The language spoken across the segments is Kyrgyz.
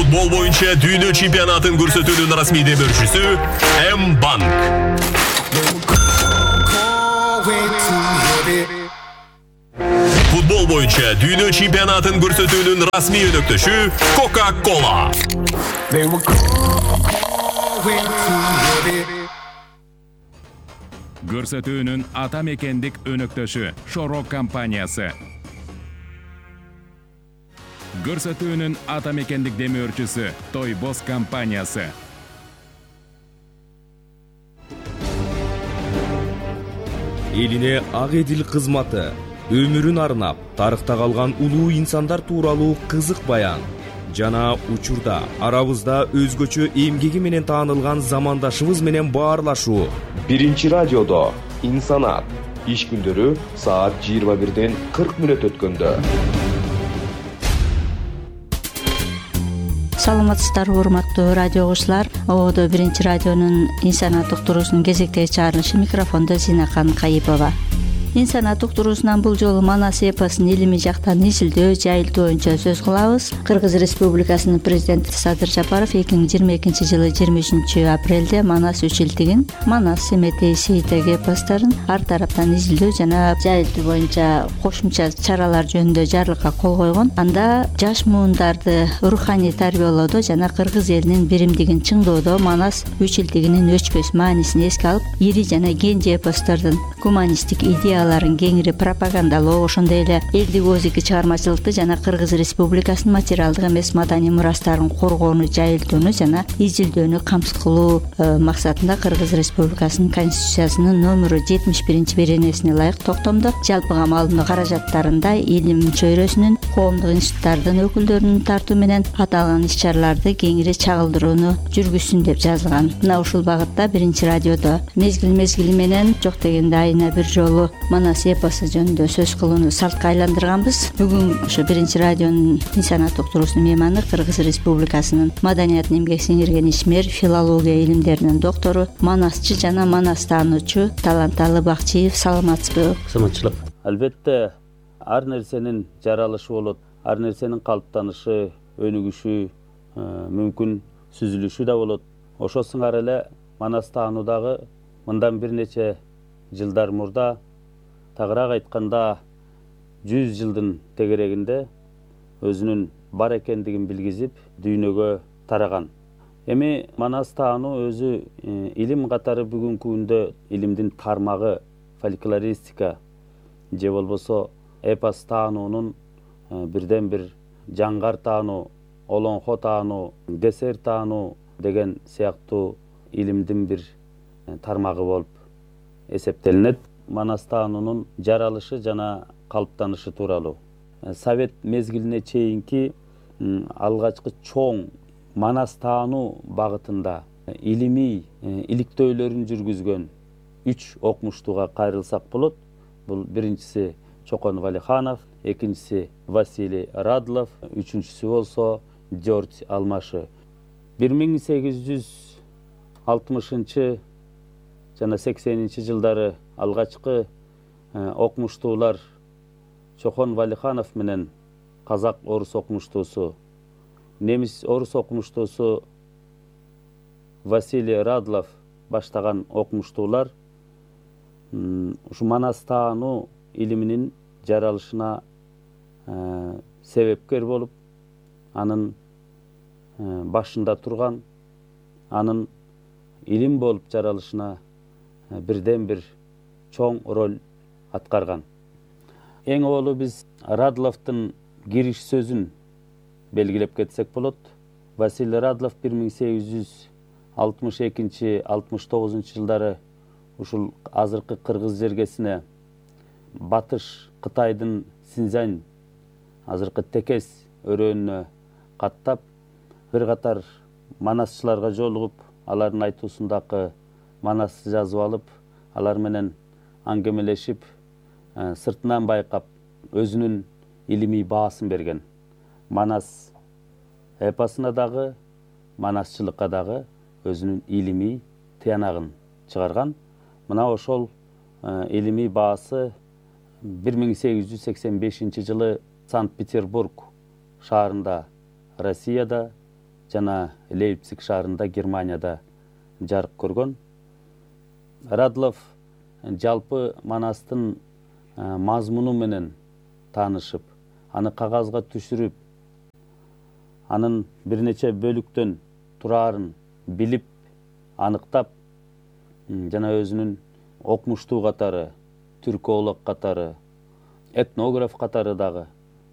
Футбол боюнча дүйнө чемпионатын көрсөтүүнүн расмий демөөрчүсү M-Bank. Футбол боюнча дүйнө чемпионатын көрсөтүүнүн расмий өнөктөшү Coca-Cola. Көрсөтүүнүн ата мекендик өнөктөшү Шорок компаниясы. Көрсөтүүнүн ата мекендик демөөрчүсү Тойбос компаниясы. Элине ак эдил кызматы, өмүрүн арнап, тарыхта калган улуу инсандар тууралуу кызык баян жана учурда арабызда өзгөчө эмгеги менен таанылган замандашыбыз менен баарлашуу. Биринчи радиодо Инсанат иш күндөрү саат 21:40 өткөндө. Саламатсыздарбы урматтуу радио угуучулар. Ободо биринчи радионун Инсанат уктуруусунун кезектеги чыгарылышы, микрофондо Зинакан Кайыпова. Инсанат уктуруусунан бул жолу Манас эпосун илимий жактан изилдөө, жайылтуу боюнча сөз кылабыз. Кыргыз Республикасынын президенти Садыр Жапаров 2022-жылы 23-апрелде Манас үчилтигин, Манас Семетей Сейтек эпосторун ар тараптан изилдөө жана жайылтуу боюнча кошумча чаралар жөнүндө жарлыкка кол койгон. Анда жаш муундарды руханий тарбиялоодо жана кыргыз элинин биримдигин чыңдоодо Манас үчилтигинин өчпөс маанисин эске алып, ири жана кенже эпостордун гуманисттик идеяларын кеңири пропагандалоо, ошондой эле элдик озики чыгармачылыкты жана Кыргыз Республикасынын материалдык эмес маданий мурастарын коргоону, жайылтууну жана изилдөөнү камсыз кылуу максатында Кыргыз Республикасынын Конституциясынын номеру 71 беренесине ылайык токтомдо жалпыга маалымдоо каражаттарында илим чөйрөсүнүн, коомдук институттардын өкүлдөрүнүн тартуу менен аталган иш-чараларды кеңири чагылдырууну жүргүзсүн деп жазылган. Мына ушул багытта биринчи радиодо мезгил менен жок дегенде айына бир жолу Манас эпосу жөнүндө сөз кылууну салтка айландырганбыз. Бүгүн ошо биринчи радионун Инсанат уктуруусунун мейманы Кыргыз Республикасынын маданиятын эмгек сиңирген ишмер, филология илимдеринин доктору, манасчы жана манас таануучу Таланталы Бакчиев. Саламатсызбы? Саламатчылык. Албетте ар нерсенин жаралышы болот, ар нерсенин калыптанышы, өнүгүшү, мүмкүн сүзүлүшү да болот. Ошо сыңар эле манас таануудагы мындан бир нече жылдар мурда, тагыраак айтканда 100 жылдын тегерегинде өзүнүн бар экендигин билгизип дүйнөгө тараган. Эми манас таануу өзү илим катары бүгүнкү күндө илимдин тармагы фольклористика же болбосо эпос таануунун бирден бир жаңгар таануу, олоңхо таануу, кесер таануу деген сыяктуу илимдин бир тармагы болуп эсептелинет. Манас таануунун жаралышы жана калыптанышы тууралуу. Совет мезгилине чейинки алгачкы чоң манас таануу багытында илимий иликтөөлөрүн жүргүзгөн 3 окумуштууга кайрылсак болот. Бул биринчиси Чокон Валиханов, экинчиси Василий Радлов, үчүнчүсү болсо Жорж Алмашы. 1860 жана 80 жылдары алгачкы окумуштуулар Чохон Валиханов менен казак орус окумуштуусу, немис орус окумуштуусу Василий Радлов баштаган окумуштуулар ушу манас таануу илиминин жаралышына себепкер болуп, анын башында турган, анын илим болуп жаралышына бирден бир чоң роль аткарган. Эң олу биз Радловдун кириш сөзүн белгилеп кетсек болот. Василий Радлов 1862-69 жылдары ушул азыркы кыргыз жергесине батыш Кытайдын Синьцзянь, азыркы Текес өрөөнүнө каттап, бир катар манасчыларга жолугуп, алардын айтуусундагы манасты жазып алып, алар менен аңгемелешип, сыртынан байкап, өзүнүн илимий баасын берген. Манас эпосуна дагы, манасчылыкка дагы өзүнүн илимий тыянагын чыгарган. Мына ошол илимий баасы 1885 жылы Санкт-Петербург шаарында, Россияда жана Лейпциг шаарында, Германияда жарык көргөн. Радлов жалпы Манастын мазмуну менен таанышып, аны кагазга түшүрүп, анын бир нече бөлүктөн тураарын билип, аныктап, жана өзүнүн окумуштуу катары, түрколог катары, этнограф катары дагы,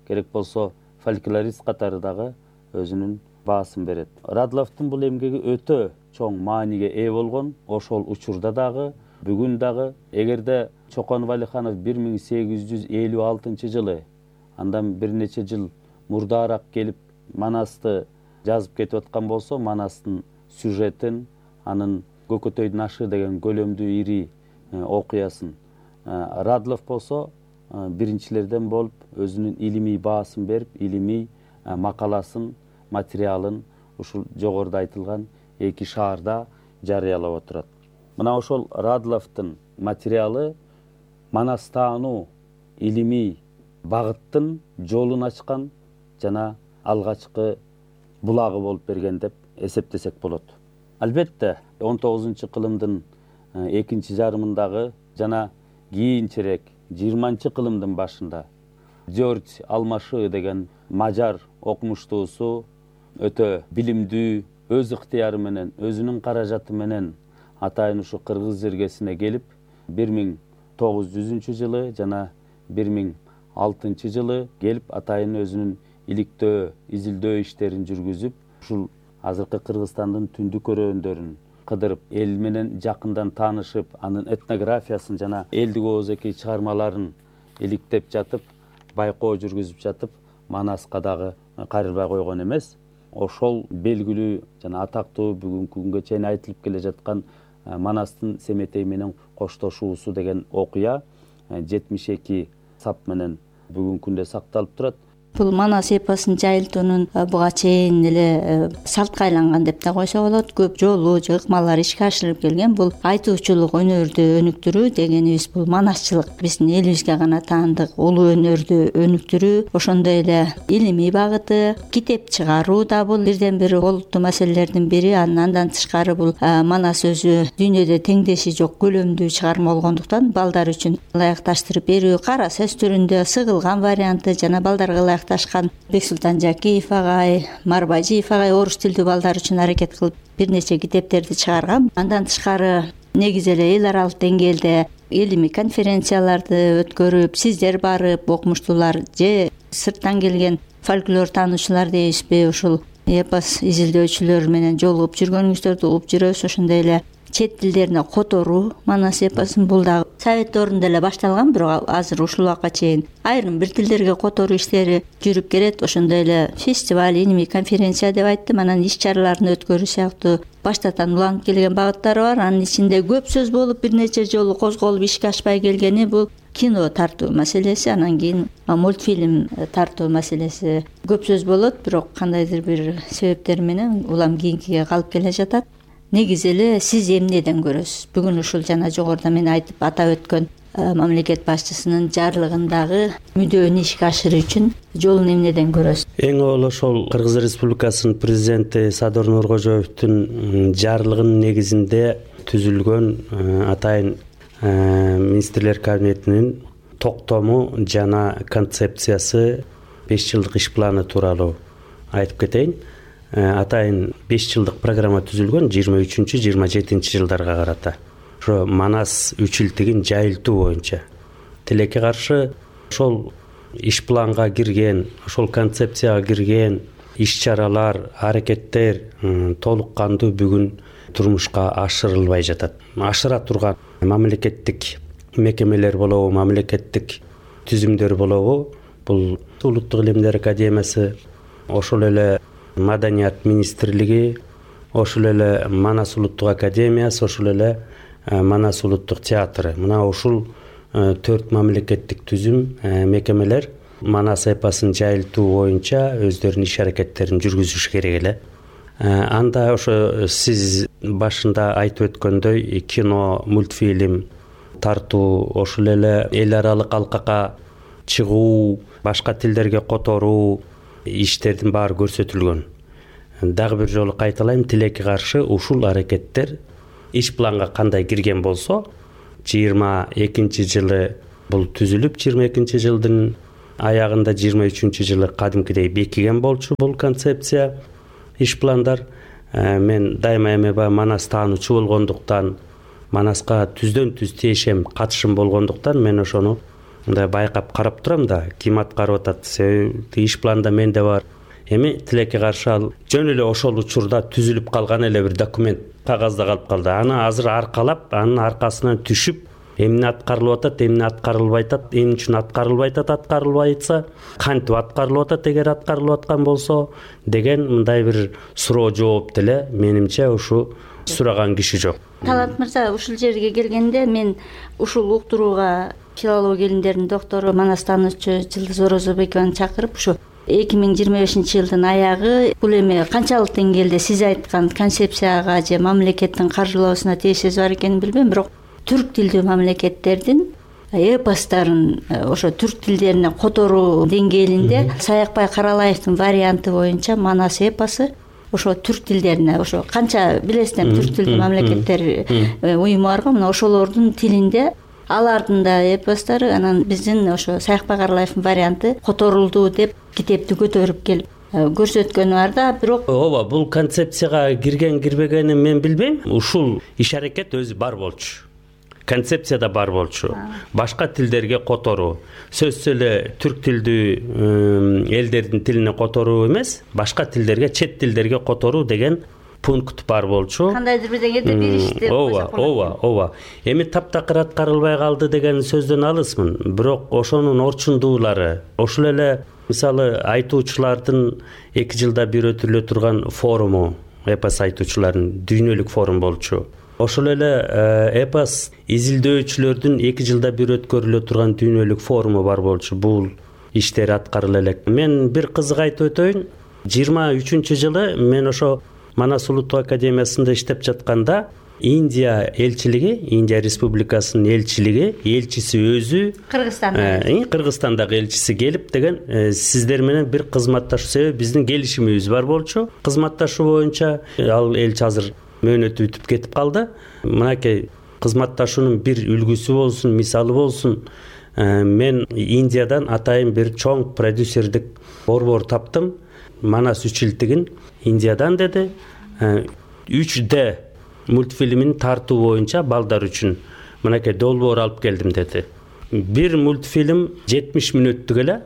керек болсо фольклорист катары дагы өзүнүн баасын берет. Радловдун бул эмгеги өтө чоң мааниге ээ болгон. Ошол учурда дагы, бүгүн дагы. Эгерде Чоконов Алиханов 1856 жылы, андан бир нече жыл мурдаараак келип Манасты жазып кетип аткан болсо, Манастын сюжетин, анын Көкөтөйдүн ашы деген көлөмдүү ири окуясын Радлов болсо биринчилерден болуп өзүнүн илимий баасын берип, илимий макаласын, материалын ушул жогоруда айтылган 2 шаарда жарыялап отурат. Мына ошол Радловдун материалы Манас таануу илимий багыттын жолун ачкан жана алгачкы булагы болуп берген деп эсептесек болот. Албетте 19-кылымдын экинчи жарымындагы жана кийинчерээк 20-кылымдын башында Жорж Алмашы деген мажар окумуштуусу өтө билимдүү, өз ыктыяры менен, өзүнүн каражаты менен атайын ушу кыргыз жергесине келип, 1900 жылы жана 2006 жылы келип атайын өзүнүн иликтөө, изилдөө иштерин жүргүзүп, ушул азыркы Кыргызстандын түндүк өрөөндөрүн кыдырып, эл менен жакындан таанышып, анын этнографиясын жана элдик оозеки чыгармаларын иликтеп жатып, байкоо жүргүзүп жатып, Манаска дагы кайрылбай койгон эмес. Ошол белгилүү жана атактуу бүгүнкү күнгө чейин айтылып келе жаткан Манастын Семетей менен коштошуусу деген окуя 72 сап менен бүгүнкү күндө сакталып турат. Бул Манас эпосун жайылтуунун буга чейин эле салтка айланган деп да койсо болот. Көп жолу ыкмалар ишке ашырылып келген. Бул айтуучулук өнөрдү өнүктүрүү дегенибиз бул манасчылык биздин элибизге гана таандык улуу өнөрдү өнүктүрүү, ошондой эле илимий багыты, китеп чыгаруу да бул бирден бир олуттуу маселелердин бири. Андан тышкары бул Манас өзү дүйнөдө теңдеши жок көлөмдүү чыгарма болгондуктан балдар үчүн ылайыкташтырып берүү, кара сөз түрүндө сыгылган варианты жана балдарга ташкан Бексултан Жакиев агай, Марбажиев агай орус тилдүү балдар үчүн аракет кылып бир нече китептерди чыгарган. Андан тышкары негизи эле эл аралык деңгээлде илимий конференцияларды өткөрүп, сиздер барып, окумуштуулар же сырттан келген фольклор таануучулар дейбизби, ушул эпос изилдөөчүлөр менен жолугуп жүргөнүңүздөрдү угуп жүрөбүз. Ошондой эле чет тилдерине которуу Манас эпосун бул дагы совет доорунда эле башталган, бирок азыр ушул убакка чейин айрым бир тилдерге которуу иштери жүрүп келет. Ошондой эле фестиваль, илимий конференция деп айттым, анан иш чараларын өткөрүү сыяктуу баштатан уланып келген багыттары бар. Анын ичинде көп сөз болуп бир нече жолу козголуп ишке ашпай келгени бул кино тартуу маселеси, анан кийин мультфильм тартуу маселеси. Көп сөз болот, бирок кандайдыр бир себептер менен улам кийинкиге калып келе жатат. Негизи эле сиз эмнеден көрөсүз? Бүгүн ушул жана жогоруда мен айтып атап өткөн мамлекет башчысынын жарлыгындагы мүддөөнү ишке ашыруу үчүн жолун эмнеден көрөсүз? Эң аввал ошол Кыргыз Республикасынын президенти Садыр Нуркожоевдун жарлыгынын негизинде түзүлгөн атайын министрлер кабинетинин токтому жана концепциясы 5 жылдык иш планы тууралуу айтып кетейин. Атайын 5 жылдык программа түзүлгөн 23-27 жылдарга карата. Ошо Манас үчилтигин жайылтуу боюнча. Тилекке каршы ошол иш планга кирген, ошол концепцияга кирген иш-чаралар, аракеттер толук кандуу бүгүн турмушка ашырылбай жатат. Ашыра турган мамлекеттик мекемелер болобу, мамлекеттик түзүмдөр болобу, бул Улуттук илимдер академиясы, ошол эле Маданият министрлиги, ошол эле Манас улуттук академиясы, ошол эле Манас улуттук театры. Мына ушул 4 мамлекеттик түзүм мекемелер Манас эпосун жайылтуу боюнча өздөрүнүн иш аракеттерин жүргүзүш керек эле. Анда ошо сиз башында айтып өткөндөй кино, мультфильм тартуу, ошол эле эл аралык алкакка чыгуу, башка тилдерге которуу иштердин баары көрсөтүлгөн. дагы бир жолу кайталайм, тилекке каршы ушул аракеттер иш планга кандай кирген болсо 22-жылы бул түзүлүп, 22-жылдын аягында 23-жылы кадимкидей бекиген болчу бул концепция, иш пландар. Мен дайыма эми баягы Манас таануучу болгондуктан, Манаска түздөн түз тиешем, катышым болгондуктан мен ошону мындай байкап карап турам да, ким аткарып атат, себеби иш планда менде бар. Эми тилекке каршы ал жөн эле ошол учурда түзүлүп калган эле бир документ кагазда калып калды. Аны азыр аркалап, анын аркасынан түшүп, эмне аткарылып атат, эмне аткарылбай атат, эмне үчүн аткарылбай атат, аткарылбай атса, кантип аткарылып атат эгер аткарылып аткан болсо деген мындай бир суроо жооп деле менимче ушу сураган киши жок. Талант мырза, ушул жерге келгенде мен ушул уктурууга филология илимдеринин доктору Манас таануучу Жылдыз Орозобекованы чакырып, ушу 2025-жылдын аягы бул эми канчалык деңгээлде сиз айткан концепцияга же мамлекеттин каржылоосуна тиешеси бар экенин билбейм, бирок түрк тилдүү мамлекеттердин эпостарын ошо түрк тилдерине которуу деңгээлинде Саякбай Каралаевдин варианты боюнча Манас эпосу ошо түрк тилдерине, ошо канча билесиздер, түрк тилдүү мамлекеттер уюму бар го, мына ошолордун тилинде алардын да эпостору, анан биздин ошо Саякбай Каралаевдин варианты которулду деп китепти көтөрүп келип көрсөткөнү бар да. Бирок ооба, бул концепцияга кирген кирбегенин мен билбейм. Ушул иш аракет өзү бар болчу. Концепцияда бар болчу. Башка тилдерге которуу, сөзсүз эле түрк тилдүү элдердин тилине которуу эмес, башка тилдерге, чет тилдерге которуу деген пункт бар болчу. Кандайдыр бир деңгээлде биришти. Ооба. Эми таптакыр аткарылбай калды деген сөздөн алысмын. Бирок ошонун орчундуулары, ошол эле мисалы айтуучулардын 2 жылда бир өтүлө турган форуму, эпос айтуучулардын дүйнөлүк форум болчу. Ошол эле эпос изилдөөчүлөрдүн 2 жылда бир өткөрүлө турган дүйнөлүк форуму бар болчу. Бул иштер аткарыла элек. Мен бир кызык айтып өтөйүн. 23-жылы мен ошо Манас улуттук академиясында иштеп жатканда Индия элчилиги, Индия республикасынын элчиси өзү Кыргызстандагы элчиси келип деген сиздер менен бир кызматташуу, себеби биздин келишимибиз бар болчу. Кызматташуу боюнча ал элчи азыр мөөнөтү бүтүп кетип калды. Мынакей кызматташуунун бир үлгүсү болсун, мисалы болсун. Мен Индиядан атайын бир чоң продюсердик борбор таптым. Манас 3 жылдыгын Индиядан деди. 3D мультфильмин тартуу боюнча балдар үчүн мынакей долбоор алып келдим деди. Бир мультфильм 70 мүнөттүк эле.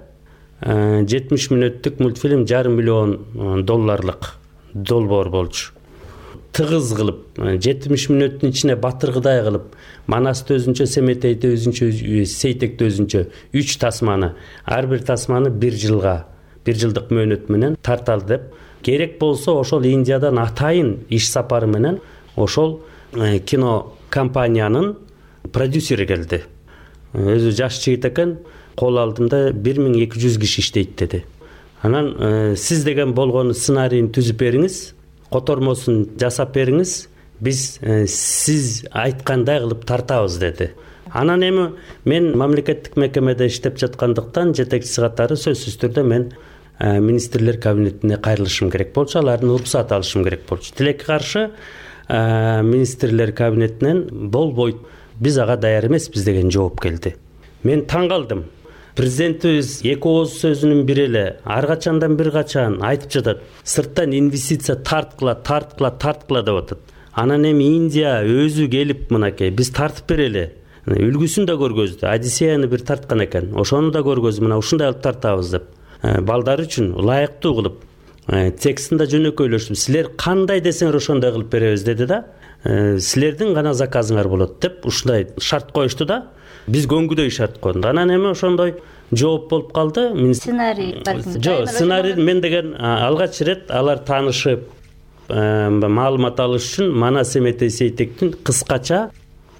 70 мүнөттүк мультфильм $500 миллион долбоор болчу. Тыгыз кылып, 70 мүнөттүн ичине батыргыдай кылып, Манасты өзүнчө, Семетейди өзүнчө, Сейтекти өзүнчө 3 тасманы, ар бир тасманы 1 жылдык мөөнөт менен тарталы деп. Керек болсо ошол Индиядан атайын иш сапары менен ошол кино компаниянын продюсери келди. Өзү жаш жигит экен, кол алдымда 1200 киши иштейт деди. Анан сиз деген болгону сценарийин түзүп бериңиз, котормосун жасап бериңиз, биз сиз айткандай кылып тартабыз деди. Анан эми мен мамлекеттик мекемеде иштеп жаткандыктан жетекчиси катары сөзсүз түрдө мен министрлер кабинетине кайрылышым керек болчу, алардын уруксат алышым керек болчу. Тилекке каршы министрлер кабинетинен болбойт, биз ага даяр эмеспиз деген жооп келди. Мен таң калдым. Президентибиз 2 ооз сөзүнүн бири эле ар качандан бир качан айтып жатат. Сырттан инвестиция тарткыла деп атат. Анан эми Индия өзү келип мынакей биз тартып берели. Үлгүсүн да көргөздү. Одиссеяны бир тарткан экен. Ошону да көргөздү. Мына ушундай алып тартабыз деп. Балдар үчүн ылайыктуу кылып, текстин да жөнөкөйлөштүм. Силер кандай десеңер ошондой кылып беребиз деди да. Силердин гана заказыңар болот деп ушундай шарт коюшту да. Биз көңгүдөй шарт койдук. Анан эми ошондой жооп болуп калды. Сценарий Жок, сценарий мен деген алгач ирет алар таанышып, маалымат алыш үчүн Манас Семетей Сейтектин кыскача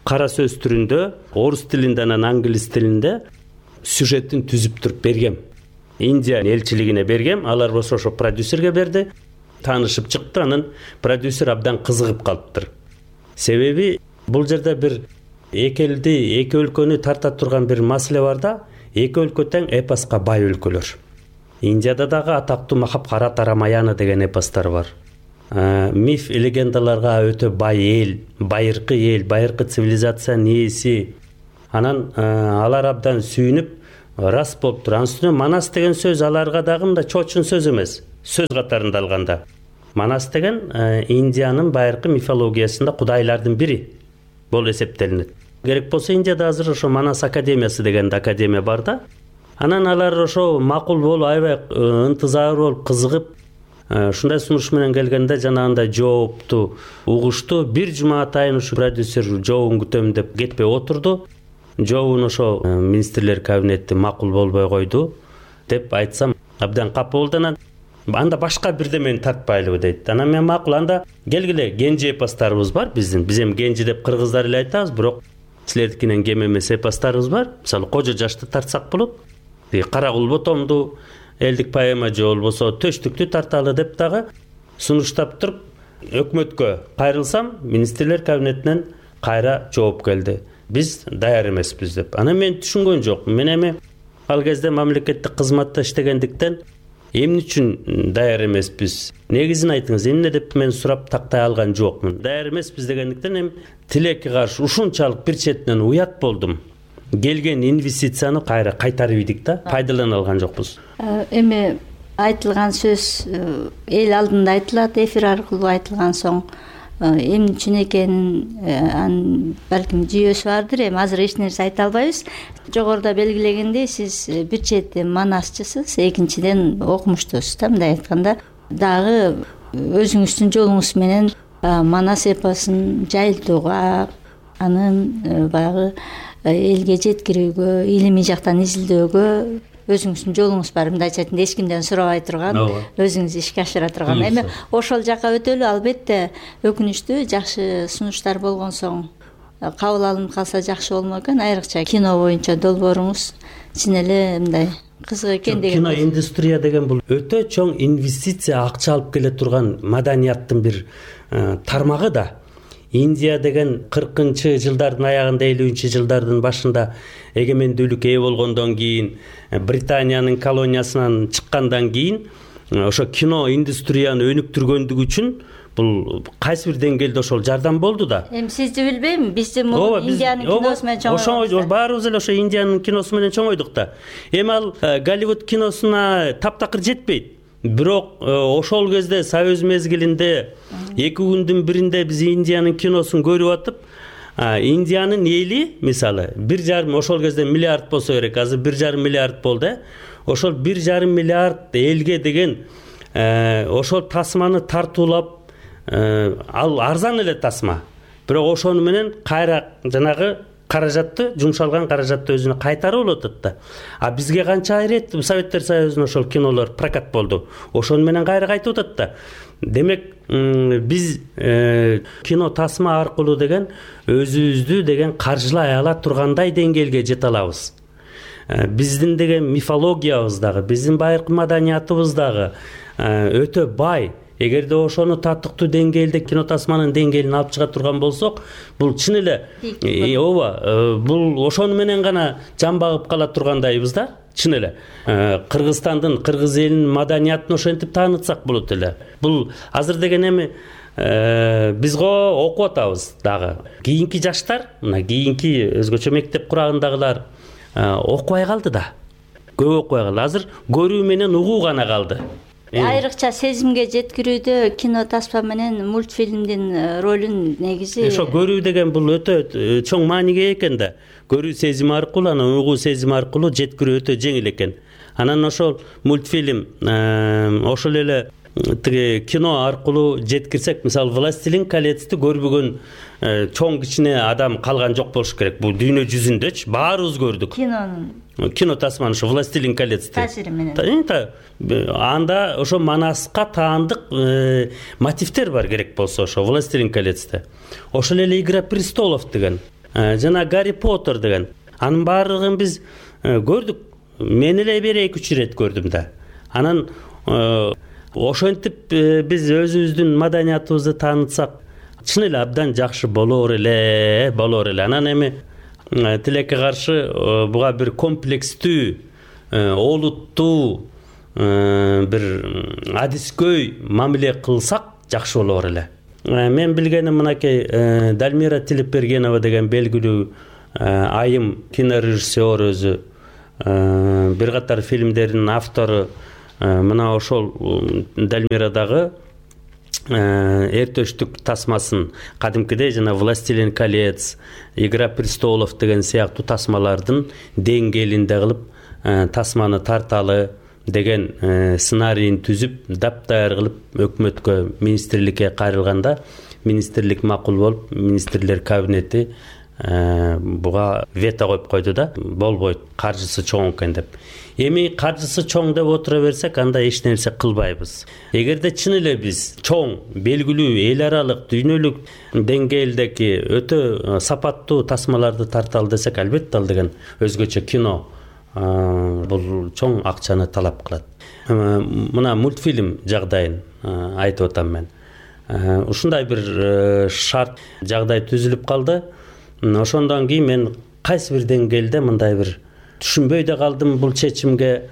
кара сөз түрүндө, орус тилинде, анан англис тилинде сюжетин түзүп туруп бергем. Индия элчилигине бергем, алар болсо ошо продюсерге берди. Таанышып чыкты, анан продюсер абдан кызыгып калыптыр. Себеби бул жерде бир эки өлкөнү тарта турган бир маселе бар да, эки өлкө тең эпоска бай өлкөлөр. Индияда дагы атактуу Махабхарата Рамаяна деген эпостор бар. Миф легендаларга өтө бай эл, байыркы цивилизациянын ээси. Анан алар абдан сүйүнүп рас болуптур. Анын үстүнө Манас деген сөз аларга дагы мындай чоочун сөз эмес, сөз катарында алганда. Манас деген Индиянын байыркы мифологиясында кудайлардын бири болуп эсептелинет. Керек болсо Индияда азыр ошо Манас академиясы деген академия бар да. Анан алар ошо макул болуп, аябай ынтызар болуп, кызыгып, ушундай сунуш менен келгенде жанагындай жоопту угушту. Бир жума атайын ушу продюсер жообун күтөм деп кетпей отурду. Жообун ошо министрлер кабинети макул болбой койду деп айтсам, абдан капа болду. Анан анда башка бирдемени тартпайлыбы дейт. Анан мен макул, анда келгиле, Генжи эпостарыбыз бар биздин. Биз эми Генжи деп кыргыздар эле айтабыз, бирок силердикинен кем эмес эпостарыбыз бар. Мисалы Кожо жашты тартсак болот. Кара кул ботомду, элдик поэма же болбосо Төштүктү тарталы деп дагы сунуштап туруп, өкмөткө кайрылсам, министрлер кабинетинен кайра жооп келди. Биз даяр эмеспиз деп. Анан мен түшүнгөн жокмун. Мен эми ал кезде мамлекеттик кызматта иштегендиктен эмне үчүн даяр эмеспиз? Негизин айтыңыз, эмне деп мен сурап тактай алган жокмун. Даяр эмеспиз дегендиктен эми тилекке каршы ушунчалык бир четинен уят болдум. Келген инвестицияны кайра кайтарып ийдик да, пайдалана алган жокпуз. Эми айтылган сөз эл алдында айтылат, эфир аркылуу айтылган соң эмне үчүн экенин анын балким жүйөсү бардыр. Эми азыр эч нерсе айта албайбыз. Жогоруда белгилегендей, сиз бир чети манасчысыз, экинчиден окумуштусуз да. Мындай айтканда, дагы өзүңүздүн жолуңуз менен Манас эпосун жайылтууга, анын баягы элге жеткирүүгө, илимий жактан изилдөөгө өзүңүздүн жолуңуз бар. Мындайча айтканда, эч кимден сурабай турган, өзүңүз ишке ашыра турган. Эми ошол жакка өтөлү. Албетте өкүнүчтүү, жакшы сунуштар болгон соң кабыл алынып калса жакшы болмок экен. Айрыкча кино боюнча долбооруңуз чын эле мындай кызык экен деген. Кино индустрия деген бул өтө чоң инвестиция, акча алып келе турган маданияттын бир тармагы да. Индия деген 40-чы жылдардын аягында, 50-чы жылдардын башында эгемендүүлүккө ээ болгондон кийин, Британиянын колониясынан чыккандан кийин ошо кино индустрияны өнүктүргөндүгү үчүн бул кайсы бир деңгээлде ошол жардам болду да. Эми сизди билбейм, бизди Индиянын киносу менен чоңойдук. Баарыбыз эле ошо Индиянын киносу менен чоңойдук да. Эми ал Голливуд киносуна таптакыр жетпейт. Бирок ошол кезде Союз мезгилинде 2 күндүн биринде биз Индиянын киносун көрүп атып, Индиянын эли мисалы 1,5 ошол кезде миллиард болсо керек, азыр 1,5 миллиард болду. Ошол 1,5 миллиард элге деген ошол тасманы тартуулап, ал арзан эле тасма. Бирок ошону менен кайра жанагы каражатты, жумшалган каражатты өзүнө кайтарып алып атат да. А бизге канча айрет Советтер Союзунун ошол кинолор прокат болду. Ошону менен кайра кайтып атат да. Демек, биз кино тасма аркылуу деген өзүбүздү деген каржылай ала тургандай деңгээлге жете алабыз. Биздин деген мифологиябыз дагы, биздин байыркы маданиятыбыз дагы өтө бай. Эгерде ошону татыктуу деңгээлде кино тасманын деңгээлин алып чыга турган болсок, бул чын эле бул ошону менен гана жан багып кала тургандайбыз да. Чын эле Кыргызстандын, кыргыз элинин маданиятын ошентип таанытсак болот эле. Бул азыр деген эми биз окуп атабыз дагы. Кийинки жаштар, мына кийинки өзгөчө мектеп курагындагылар окубай калды да. Көп окубай калды. Азыр көрүү менен угуу гана калды. Айрыкча сезимге жеткирүүдө кино таспа менен мультфильмдин ролун негизи ошо көрүү деген бул өтө чоң мааниге экен да. Көрүү сезими аркылуу, анан угуу сезими аркылуу жеткирүү өтө жеңил экен. Анан ошол мультфильм ошол эле тиги кино аркылуу жеткирсек, мисалы Властелин колецти көрбөгөн чоң кичине адам калган жок болуш керек. Бул дүйнө жүзүндөчү баарыбыз көрдүк. Кино тасманы ошо Властелин колецти таасири менен. Анда ошо Манаска таандык мотивдер бар керек болсо ошо Властелин колецте. Ошол эле Игра престолов деген, жана Гарри Поттер деген. Анын баардыгын биз көрдүк. Мен эле бери 2-3 ирет көрдүм да. Анан ошентип биз өзүбүздүн маданиятыбызды таанытсак, чын эле абдан жакшы болор эле. Анан эми тилекке каршы буга бир комплекстүү, олуттуу бир адискөй мамиле кылсак жакшы болор эле. Мен билгеним мынакей Дальмира Тилепбергенова деген белгилүү айым кинорежиссер, өзү бир катар фильмдердин автору. Мына ошол Дальмирадагы эртөштүк тасмасын кадимкидей жана «Властелин колец», «Игра престолов» деген сыяктуу тасмалардын деңгээлинде кылып тасманы тарталы деген сценарийин түзүп, таптаяр кылып өкмөткө, министрликке кайрылганда министрлик макул болуп, министрлер кабинети буга вето коюп койду да, болбойт, каржысы чоң экен деп. Эми каржысы чоң деп отура берсек, анда эч нерсе кылбайбыз. Эгерде чын эле биз чоң, белгилүү, эл аралык, дүйнөлүк деңгээлдеги өтө сапаттуу тасмаларды тарталы десек, албетте ал деген өзгөчө кино. Бул чоң акчаны талап кылат. Мына мультфильм жагдайын айтып атам мен. Ушундай бир шарт жагдай түзүлүп калды. Ошондон кийин мен кайсы бир деңгээлде мындай бир түшүнбөй да калдым бул чечимге,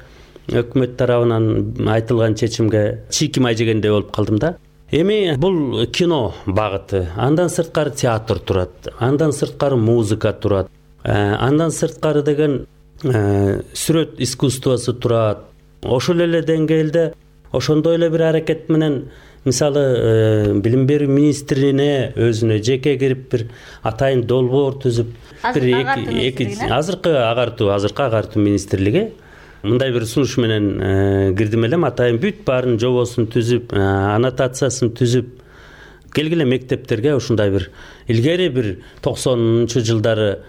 өкмөт тарабынан айтылган чечимге чийкимай жегендей болуп калдым да. Эми бул кино багыты, андан сырткары театр турат, андан сырткары музыка турат, андан сырткары деген сүрөт искусствосу турат. Ошол эле деңгээлде ошондой эле бир аракет менен мисалы билим берүү министрине өзүнө жеке кирип бир атайын долбоор түзүп, азыркы агартуу министрлиги мындай бир сунуш менен кирдим элем. Атайын бүт баарын жобосун түзүп, аннотациясын түзүп, келгиле мектептерге ушундай бир илгери бир 90-чы жылдары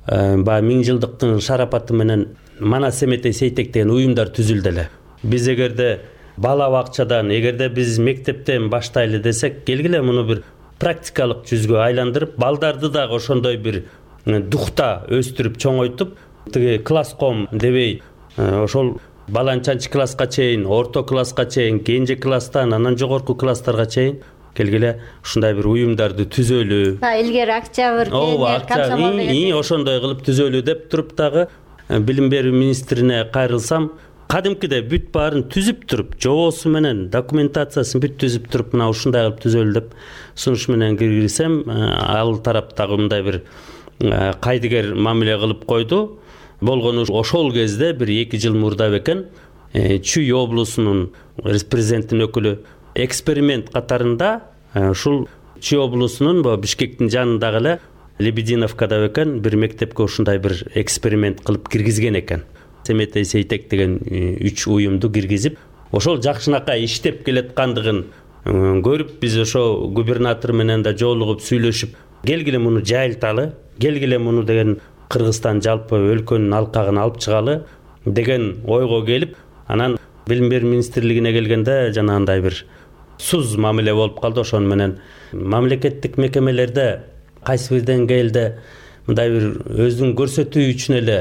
баягы 1000 жылдыктын шарапаты менен Манас Семетей Сейтек деген уюмдар түзүлдү эле. Биз эгерде бала бакчадан, эгерде биз мектептен баштайлы десек, келгиле муну бир практикалык жүзгө айландырып, балдарды дагы ошондой бир духта өстүрүп, чоңойтуп, тиги класском дебей, ошол баланчанчы класска чейин, орто класска чейин, кенже класстан анан жогорку класстарга чейин келгиле ушундай бир уюмдарды түзөлү. Илгери Октябрь, Комсомол деген ошондой кылып түзөлү деп туруп дагы билим берүү министрине кайрылсам, кадимкидей бүт баарын түзүп туруп, жобосу менен, документациясын бүт түзүп туруп, мына ушундай кылып түзөлү деп сунуш менен киргизсем, ал тараптагы мындай бир кайдыгер мамиле кылып койду. Болгону ошол кезде бир 2 жыл мурда бекен Чүй облусунун президенттин өкүлү эксперимент катарында ушул Чүй облусунун Бишкектин жанындагы эле Лебединовкада бекен бир мектепке ушундай бир эксперимент кылып киргизген экен. Семетей Сейтек деген 3 уюмду киргизип, ошол жакшынакай иштеп келаткандыгын көрүп, биз ошо губернатор менен да жолугуп сүйлөшүп, келгиле муну жайылталы, келгиле муну деген Кыргызстан жалпы өлкөнүн алкагына алып чыгалы деген ойго келип, анан билим берүү министрлигине келгенде жанагындай бир суз мамиле болуп калды. Ошону менен мамлекеттик мекемелерде кайсы бир деңгээлде мындай бир өзүн көрсөтүү үчүн эле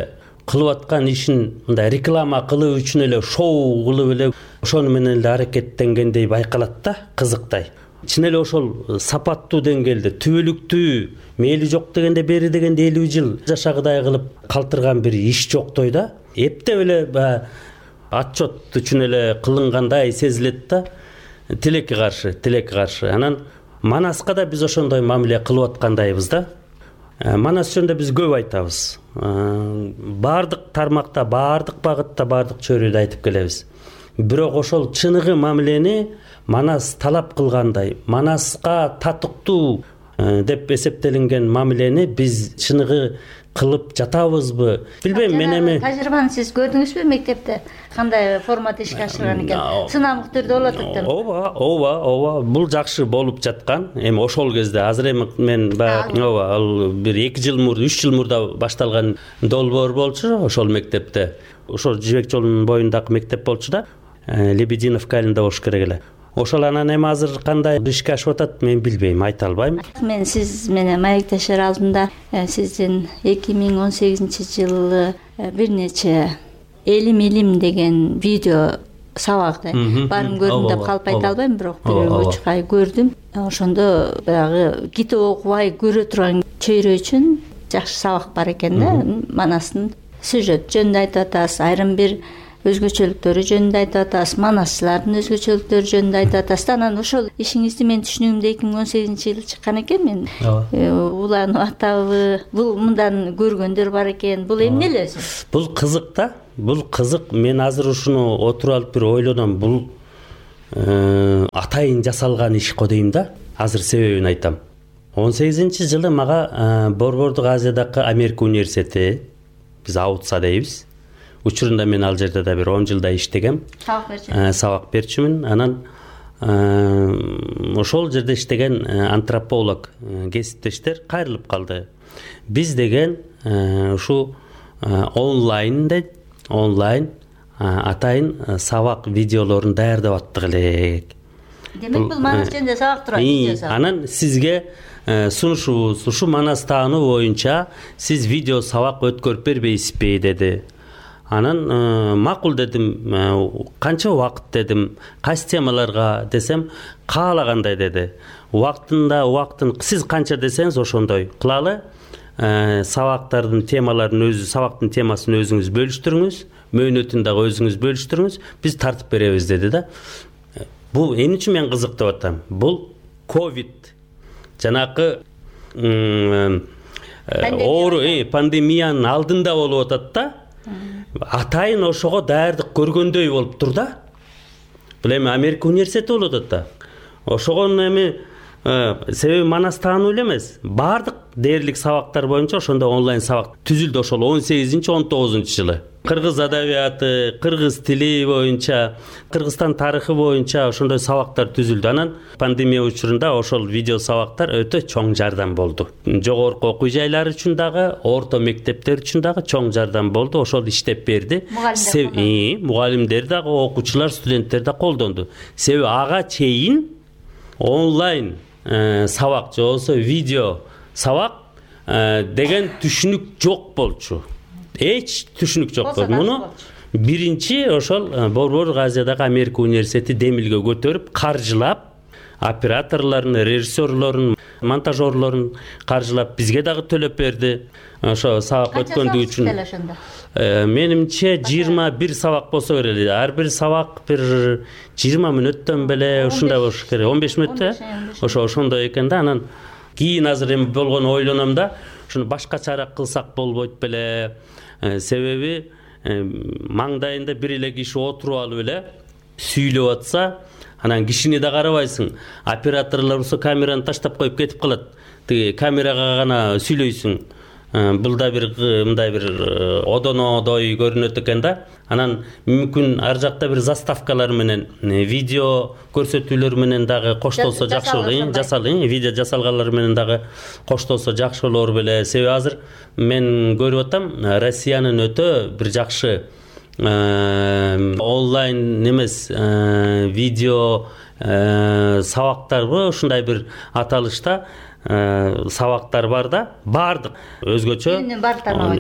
кылып аткан ишин мындай реклама кылуу үчүн эле шоу кылып эле ошону менен эле аракеттенгендей байкалат да, кызыктай. Чын эле ошол сапаттуу деңгээлде, түбөлүктүү, мээли жок дегенде бери дегенде 50 жыл жашагыдай кылып калтырган бир иш жоктой да. Эптеп эле отчет үчүн эле кылынгандай сезилет да. Тилекке каршы. Анан Манаска да биз ошондой мамиле кылып аткандайбыз да. Манас жөнүндө биз көп айтабыз. Бардык тармакта, бардык багытта, бардык чөйрөдө айтып келебиз. Бирок ошол чыныгы мамилени Манас талап кылгандай, Манаска татыктуу деп эсептелинген мамилени биз чыныгы кылып жатабызбы? Билбейм, мен эми тажрыйбаны сиз көрдүңүзбү мектепте? Кандай формат ишке ашырган экен? Сынамдык түрдө болот экен. Ооба, бул жакшы болуп жаткан. Эми ошол кезде азыр эми мен ал бир 2 жыл мурда, 3 жыл мурда башталган долбоор болчу ошол мектепте. Ошол Жибек жолунун боюндагы мектеп болчу да. Лебединовка айылында болуш керек эле. Ошол анан эми азыр кандай ишке ашып атат, мен билбейм, айта албайм. Мен сиз менен маектешер алдында сиздин 2018-жылы бир нече элим деген видео сабакты баарын көрдүм деп калып айта албайм, бирок бир 3 ай көрдүм. Ошондо баягы китеп окубай көрө турган чөйрө үчүн жакшы сабак бар экен да. Манастын сюжет жөнүндө айтып атасыз, айрым бир өзгөчөлүктөрү жөнүндө айтып атасыз, манасчылардын өзгөчөлүктөрү жөнүндө айтып атасыз. Анан ошол ишиңизди мен түшүнүгүмдө 2018-жылы чыккан экен. Мен уланып атабы, бул мындан көргөндөр бар экен. Бул эмне эле өзү? Бул кызык да. Бул кызык. Мен азыр ушуну отуруп алып бир ойлоном. Бул атайын жасалган иш го дейм да. Азыр себебин айтам. 18-жылы мага Борбордук Азиядагы Америка университети, биз аутса дейбиз. Учурунда мен ал жерде да бир 10 жылдай иштегем. Сабак берчүмүн. Анан ошол жерде иштеген антрополог кесиптештер кайрылып калды. Биз деген ушу онлайн атайын сабак видеолорун даярдап аттык элек. Демек бул манас жөнүндө сабак турат, видео сабак. Анан сизге сунушубуз ушу манас таануу боюнча сиз видео сабак өткөрүп бербейсизби деди. Анан макул дедим. Канча убакыт дедим, кайсы темаларга десем, каалагандай деди. Убактын сиз канча десеңиз ошондой кылалы. Сабактардын темаларын сабактын темасын өзүңүз бөлүштүрүңүз, мөөнөтүн дагы өзүңүз бөлүштүрүңүз, биз тартып беребиз деди да. Бул эмне үчүн мен кызык деп атам? Бул ковид жанакы пандемиянын алдында болуп атат да. Атайын ошого даярдык көргөндөй болуптур да. Бул эми Америка университети болуп атат да. Ошогон эми себеби манас таануу эле эмес. Бардык дээрлик сабактар боюнча ошондо онлайн сабак түзүлдү ошол 18-19-жылы. Кыргыз адабияты, кыргыз тили боюнча, Кыргызстан тарыхы боюнча ошондой сабактар түзүлдү. Анан пандемия учурунда ошол видео сабактар өтө чоң жардам болду. Жогорку окуу жайлар үчүн дагы, орто мектептер үчүн дагы чоң жардам болду. Ошол иштеп берди. Мугалимдер дагы, окуучулар, студенттер да колдонду. Себеби ага чейин онлайн сабак же болбосо видео сабак деген түшүнүк жок болчу. Эч түшүнүк жок болду. Муну биринчи ошол Борбордук Азиядагы Америка университети демилге көтөрүп, каржылап, операторлорун, режиссерлорун, монтажерлорун каржылап, бизге дагы төлөп берди. Ошо сабак өткөндүгү үчүн. Менимче 21 сабак болсо керек. Ар бир сабак бир 20 мүнөттөн беле ушундай болуш керек. 15 мүнөттө. Ошондой экен да. Анан кийин азыр эми болгону ойлоном да, ушуну башкачараак кылсак болбойт беле. Себеби маңдайында бир эле киши отуруп алып эле сүйлөп атса, анан кишини да карабайсың. Операторлор болсо камераны таштап коюп кетип калат. Тиги камерага гана сүйлөйсүң. Бул да бир мындай бир одонодой көрүнөт экен да. Анан мүмкүн ар жакта бир заставкалар менен, видео көрсөтүүлөр менен дагы коштолсо жакшы болот. Видео жасалганлар менен дагы коштолсо жакшы болор беле. Себеби азыр мен көрүп атам, Россиянын өтө бир жакшы онлайн эмес видео сабактарбы ушундай бир аталышта сабактар бар да. Бардык өзгөчө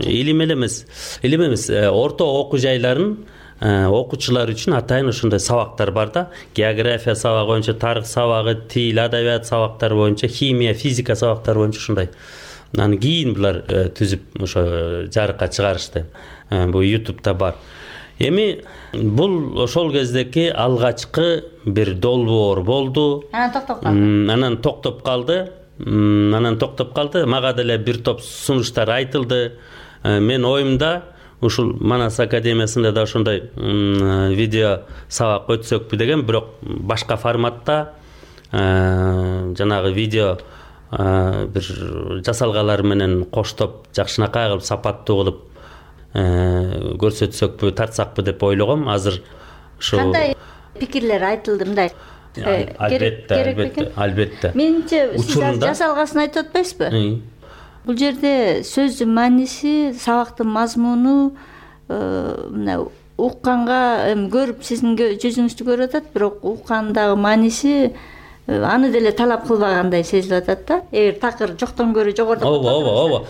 илим эмес орто окуу жайларын окуучулар үчүн атайын ошондой сабактар бар да. География сабагы боюнча, тарых сабагы, тил, адабият сабактары боюнча, химия, физика сабактары боюнча ушундай. Анан кийин булар түзүп ошо жарыкка чыгарышты. Бул YouTube'да бар. Эми бул ошол кездеки алгачкы бир долбоор болду. Анан токтоп калды. Мага деле бир топ сунуштар айтылды. Мен оюмда ушул Манас академиясында да ошондой видео сабак өтсөкпү деген, бирок башка форматта жанагы видео бир жасалгалар менен коштоп, жакшынакай кылып, сапаттуу кылып көрсөтсөкпү, тартсакпы деп ойлогом. Азыр ошо кандай пикирлер айтылды мындай? Албетте. Менимче сиз жасалгасын айтып атпайсызбы? Бул жерде сөздүн мааниси, сабактын мазмуну мына укканга, көрүп сиздин жүзүңүздү көрүп атат, бирок уккандагы мааниси аны деле талап кылбагандай сезилип атат да. Эгер такыр жоктон көрө жогору. Ооба.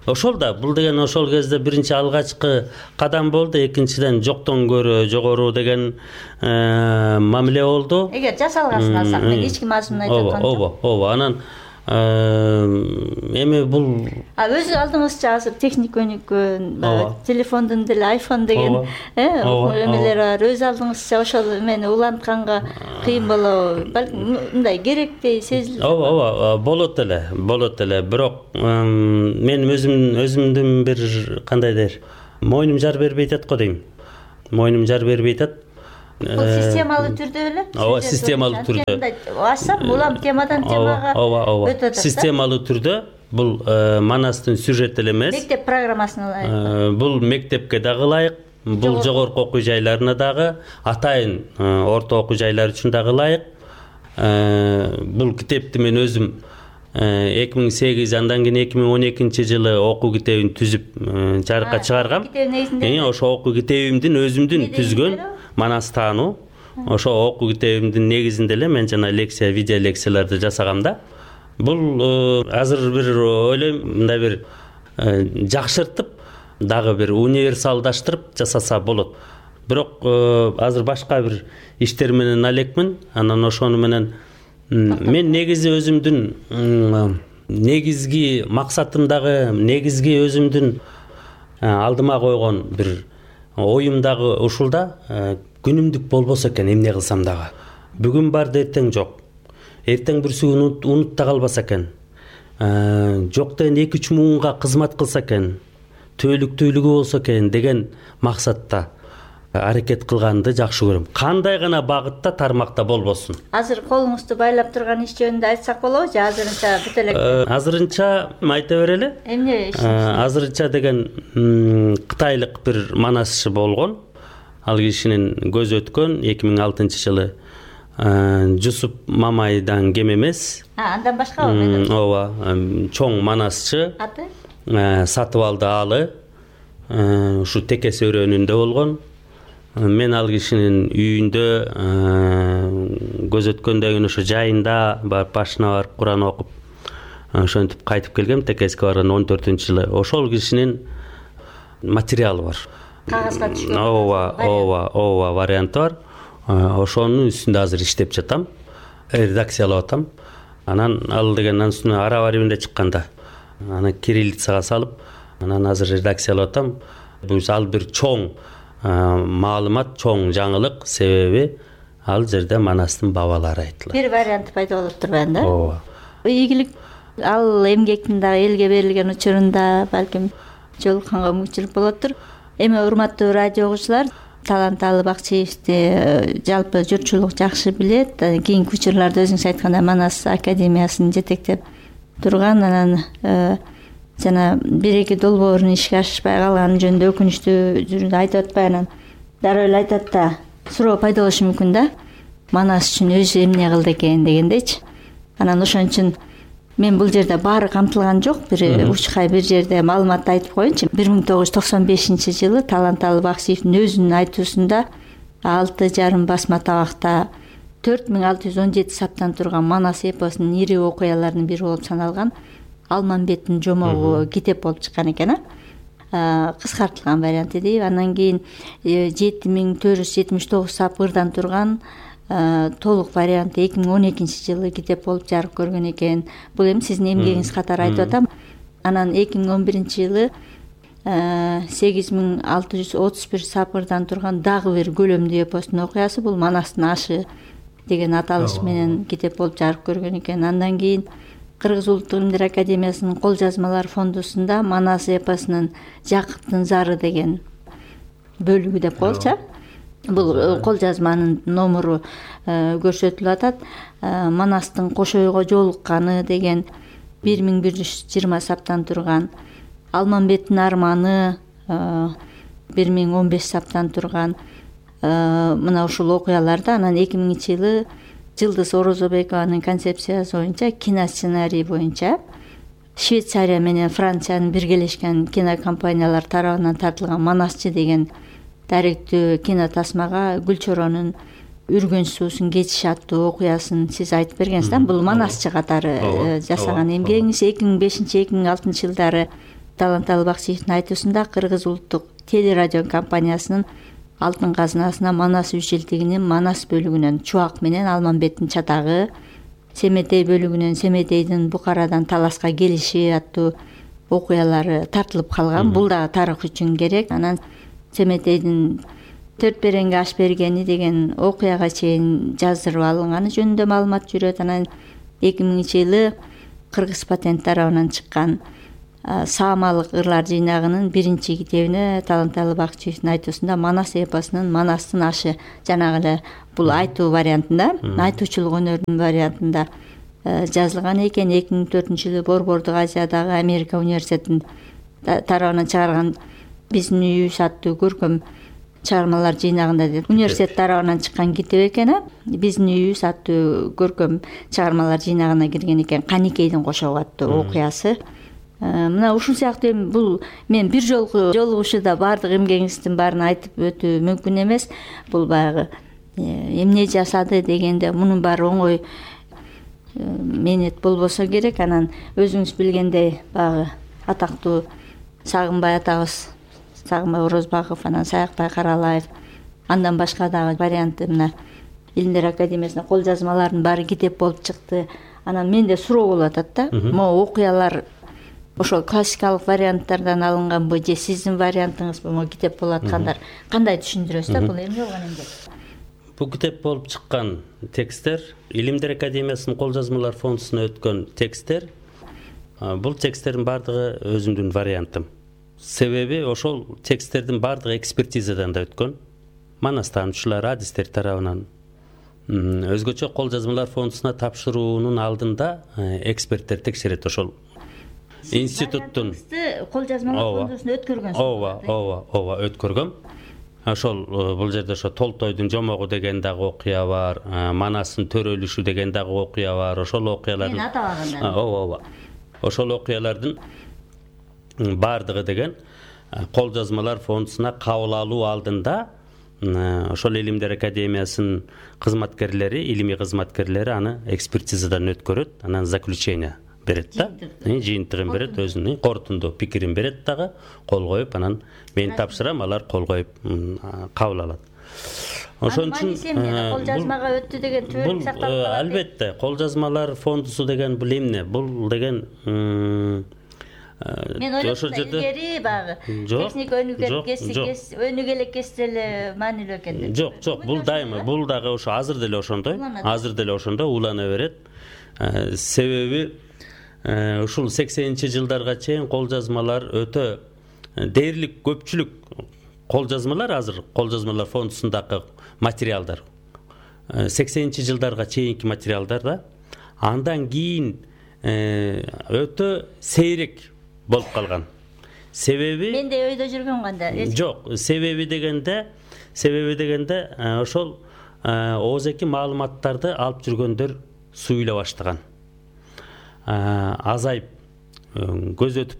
Ошол да, бул деген ошол кезде биринчи алгачкы кадам болду, экинчиден жоктон көрө жогору деген мамиле болду. Эгер жасалгасын алсак, мен ички мазмунун айтып аткам жок. Ооба. Анан Эми бул өзү алдыңызча азыр техник өнүккөн, телефондун деле iPhone деген эмелер бар. Өз алдыңызча ошол эмени улантканга кыйын болобу? Балким мындай керектей сезилет. ооба болот эле. Бирок мен өзүмдүн бир кандай дейер, мойнум жар бербей атат го дейм. Мойнум жар бербей атат. Бул системалуу түрдө эле? Ооба, системалуу түрдө. Ачсам, улам темадан темага өтүп атат. Системалуу түрдө бул Манастын сюжети эле эмес. Мектеп программасына ылайык. Бул мектепке дагы ылайык, бул жогорку окуу жайларына дагы, атайын орто окуу жайлар үчүн дагы ылайык. Бул китепти мен өзүм 2008 андан кийин 2012-жылы окуу китебин түзүп жарыкка чыгаргам. Ошо окуу китебимдин өзүмдүн түзгөн Манас таануу. Ошо окуу китебимдин негизинде эле мен жана лекция, видео лекцияларды жасагам да. Бул азыр бир ойлойм, мындай бир жакшыртып, дагы бир универсалдаштырып жасаса болот. Бирок азыр башка бир иштер менен алекмин. Анан ошону менен мен негизи өзүмдүн негизги максатым дагы, негизги өзүмдүн алдыма койгон бир оюм дагы ушул да, күнүмдүк болбосо экен эмне кылсам дагы. Бүгүн бар да эртең жок. Эртең бүрсү унутта калбаса экен. Жок деген 2-3 муунга кызмат кылса экен. Төөлүктүүлүгү болсо экен деген максатта аракет кылганды жакшы көрөм. Кандай гана багытта, тармакта болбосун. Азыр колуңузду байлап турган иш жөнүндө айтсак болобу же азырынча бүт элек? Азырынча айта берели. Эмне иш? Азырынча деген кытайлык бир манасчы болгон. Ал кишинин көзү өткөн 2006-жылы Жусуп Мамайдан кем эмес. Андан башкабы? Ооба, чоң манасчы. Аты? Сатыбалды Аалы. Ушу Текес өрөөнүндө болгон. Мен ал кишинин үйүндө көз өткөндөн кийин ошо жайында барып башына барып Куран окуп ошентип кайтып келгем. Текеске барган 14-жылы. Ошол кишинин материалы бар. Кагазга түшкөн. Ооба, варианты бар. Ошонун үстүндө азыр иштеп жатам. Редакциялап атам. Анан ал деген үстүнө араба римде чыкканда. Аны кириллицага салып, анан азыр редакциялап атам. Бул ал бир чоң маалымат, чоң жаңылык, себеби ал жерде Манастын бабалары айтылат. Бир вариант пайда болуп турбайбы да? Ооба. Ийгилик ал эмгектин дагы элге берилген учурунда балким жолукканга мүмкүнчүлүк болоттур. Эми урматтуу радио угуучулар, Таланталы Бакчиевди жалпы журтчулук жакшы билет. Кийинки учурларда өзүңүз айткандай Манас академиясын жетектеп турган, анан жана 1-2 долбоорун ишке ашпай калганы жөнүндө өкүнүчтүү жүрүндө айтып атпай, анан дароо эле айтат да, суроо пайда болушу мүмкүн да. Манас үчүн өзү эмне кылды экен дегендейчи. Анан ошон үчүн мен бул жерде баары камтылган жок, бир учкай бир жерде маалыматты айтып коеюнчу. 1995-жылы Таланталы Бакчиевдин өзүнүн айтуусунда 6,5 басма табакта 4617 саптан турган Манас эпосунун ири окуяларынын бири болуп саналган Алмамбеттин жомогу китеп болуп чыккан экен. Кыскартылган варианты дейб. Андан кийин 7479 сапырдан турган толук варианты 2012-жылы китеп болуп жарык көргөн экен. Бул эми сиздин эмгегиңиз катары айтып атам. Анан 2011-жылы 8631 сапырдан турган дагы бир көлөмдүү эпостун окуясы, бул Манастын ашы деген аталыш менен китеп болуп жарык көргөн экен. Андан кийин Кыргыз Улуттук Илимдер Академиясынын кол жазмалар фондусунда Манас эпосунун Жакыптын зары деген бөлүгү деп коелучу. Бул кол жазманын номуру көрсөтүлүп атат. Манастын Кошойго жолукканы деген 1120 саптан турган, Алмамбеттин арманы 1015 саптан турган мына ушул окуяларда. Анан 2000-жылы Жылдыз Орозобекованын концепциясы боюнча, киносценарий боюнча Швейцария менен Франциянын биргелешкен кинокомпаниялар тарабынан тартылган Манасчы деген даректүү кино тасмага Гүлчоронун Үргөн суусун кечиш аттуу окуясын сиз айтып бергенсиз да. Бул Манасчы катары жасаган эмгегиңиз. 2005-2006 жылдары Таланталы Бакчиевдин айтуусунда Кыргыз улуттук телерадио компаниясынын алтын казынасына Манас үчилтигинин Манас бөлүгүнөн чубак менен Алмамбеттин чатагы, Семетей бөлүгүнөн Семетейдин Букарадан Таласка келиши аттуу окуялары тартылып калган. Бул дагы тарых үчүн керек. Анан Семетейдин төрт беренге аш бергени деген окуяга чейин жаздырып алынганы жөнүндө маалымат жүрөт. Анан 2000-жылы Кыргыз патент тарабынан чыккан Саамалык ырлар жыйнагынын биринчи китебине Таланталы Бакчиевдин айтуусунда Манас эпосунун Манастын ашы жанагы эле бул айтуу вариантында, айтуучулук өнөрүнүн вариантында жазылган экен. 2004-жылы Борбордук Азиядагы Америка университетинин тарабынан чыгарган Биздин үйүбүз аттуу көркөм чыгармалар жыйнагында деп университет тарабынан чыккан китеп экен. Биздин үйүбүз аттуу көркөм чыгармалар жыйнагына кирген экен. Каникейдин кошогу аттуу окуясы. Мына ушул сыяктуу бул мен бир жолку жолугушууда баардык эмгегиңиздин баарын айтып өтүү мүмкүн эмес. Бул баягы эмне жасады дегенде мунун баары оңой мээнет болбосо керек. Анан өзүңүз билгендей баягы атактуу Сагынбай атабыз, Сагынбай Орозбаков, анан Саякбай Каралаев, андан башка дагы варианты мына Илимдер академиясына кол жазмалардын баары китеп болуп чыкты. Анан менде суроо болуп атат да. Могу окуялар ошол классикалык варианттардан алынганбы же сиздин вариантыңызбы могу китеп болуп аткандар? Кандай түшүндүрөсүз да? Бул эмне болгон эмгек? Бул китеп болуп чыккан тексттер Илимдер академиясынын кол жазмалар фондусуна өткөн тексттер. Бул тексттердин баардыгы өзүмдүн вариантым. Себеби ошол тексттердин баардыгы экспертизадан да өткөн. Манастануучулар, адистер тарабынан. Өзгөчө кол жазмалар фондусуна тапшыруунун алдында эксперттер текшерет ошол институттун кол жазмалар фондусуна өткөргөнсүз. Ооба, өткөргөм. Ошол бул жерде ошо Толтойдун жомогу деген дагы окуя бар, Манастын төрөлүшү деген дагы окуя бар. Ошол окуялардын Мен атабаганда. Ооба. Ошол окуялардын баардыгы деген кол жазмалар фондусуна кабыл алуу алдында ошол Илимдер академиясынын кызматкерлери, илимий кызматкерлери аны экспертизадан өткөрөт, анан заключение берет да, жыйынтыгын берет, өзүнүн корутунду пикирин берет дагы, кол коюп, анан мен тапшырам, алар кол коюп кабыл алат. Ошон үчүн кол жазмага өттү деген түбөлүк сакталып калат. Албетте, кол жазмалар фондусу деген бул эмне? Бул деген мен ойлойм илгери багы техника өнүгө кесте эле маанилүү экен. Жок, бул дайыма, бул дагы ошо азыр деле ошондой улана берет. Себеби ушул 80-жылдарга чейин кол жазмалар өтө дээрлик көпчүлүк кол жазмалар, азыр кол жазмалар фондусундагы материалдар 80-жылдарга чейинки материалдар да, андан кийин өтө сейрек болуп калган. Себеби менде өйдө жүргөн кандай? Жок, себеби дегенде ошол оозеки маалыматтарды алып жүргөндөр суюла баштаган. Азайып, көз өтүп,